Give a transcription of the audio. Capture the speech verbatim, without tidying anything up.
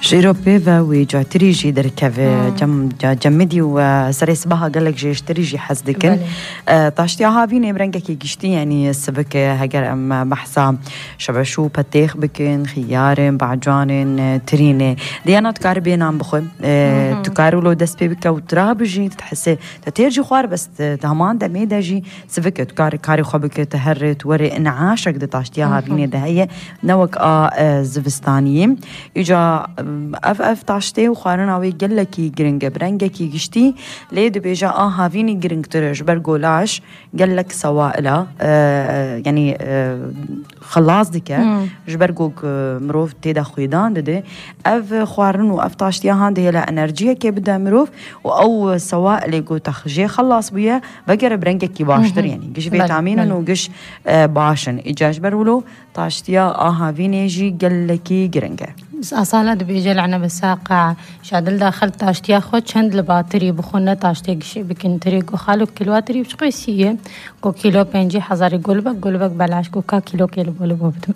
جيرو بيفا ويجا تريجي دركافي جم جمدي وسريس بها قال لك جيش تريجي حسدكن طاشتي هافيني برنجكي جشتي يعني السبك هجر ام بحثا شبشو بتيخ بكن خيارن بعجانن تريني ديانا تكاربين عم بخو تكارو لو دس بيبك وترابجي تحسي تتيرجي خوار بس تهمان دمي دجي سبك تكاري كاري خبك تهرت وري انعاشك دي طاشتي هافيني ده هي نوك ا زفستانيين يجا اف اف طاشتي وخارنا وي قالكي جرينج برنجكي جشتي ليد بيجا اه هافيني جرينج ترج برجولاش قالك سوائلا آه يعني آه خلاص ديك جبرجوك مروف تيدا خويدان ددي اف خوارن واف طاشتي هاند هي لا انرجيه كي بدا مروف او سوائل يقو تخجي خلاص بيا بقر برنجكي باشتر يعني قش فيتامين وقش آه باشن اجاج برولو طاشتيا اه هافيني جي قالكي جرينج بس أصالة بيجي لعنا بالساقع شادل داخل تاشتي أخذ شند لباتري بخونة تاشتي شيء بكنتري كو خالو كيلواتري بشقيسية كو كيلو بنجي حزاري قلبك قلبك بلاش كو كا كيلو كيلو بولو بوبتم